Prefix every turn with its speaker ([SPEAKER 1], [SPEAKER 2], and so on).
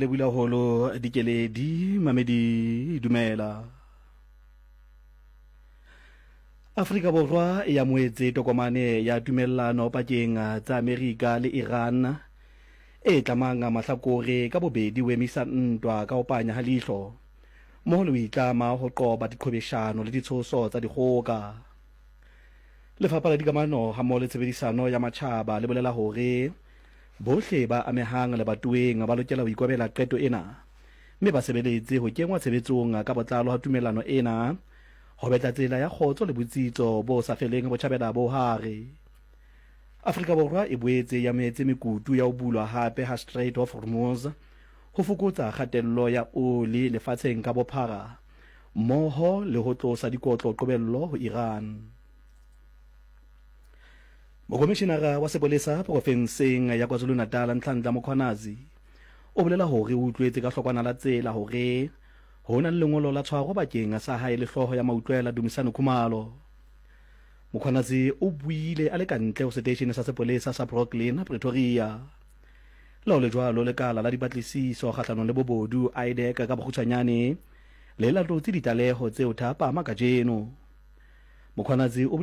[SPEAKER 1] Lebulaholo Dikeledi Mamedi Dumela. Afrika Borwa e amohetse tokomane ya tumellano pakeng tsa Amerika le Iran e tlamang mahlakore ka bobedi ho emisa ntwa ka ho panya ha leihlo mmoho le ho itlama ho qoba diqhwebeshano le ditshoso tsa dikgoka. Lefapha la Dikamano hammoho le Tshebedisano ya Matjhaba le bolela hore Bohle ba amehang lebatoweng ba lokela ho ikobela qeto ena mme ba sebeletse ho kengwa tshebetsong ka botlalo ha tumellano ena ho betla tsela ya kgotso le botsitso bo sa feleng Botjhabela bo Hare. Afrika Borwa e boetse e amohetse mekutu ya ho bulwa hape ha Strait of Hormuz ho fokotsa kgatello ya oli lefatsheng ka bophara mmoho le ho tlosa dikotlo qobello ho Iran. Mokomishinara wa sepolesa porofenseng ya KwaZulu-Natal Nhlanhla Mkhwanazi o bolela hore o utlwetse ka hlokwana la tsela hore ho na le lengolo la tshwaro bakeng sa hae le hlooho ya mautlwela Dumisani Khumalo. Mkhwanazi o buile a le ka ntle ho seteishene sa sepolesa sa Brooklyn, Pretoria. Le ho le jwalo, lekala la dipatlisiso kgahlanong le bobodu, IDAC ka bokgutshwanyane, le latotse ditlaleho tseo thapama kajeno. Mkhwanazi o.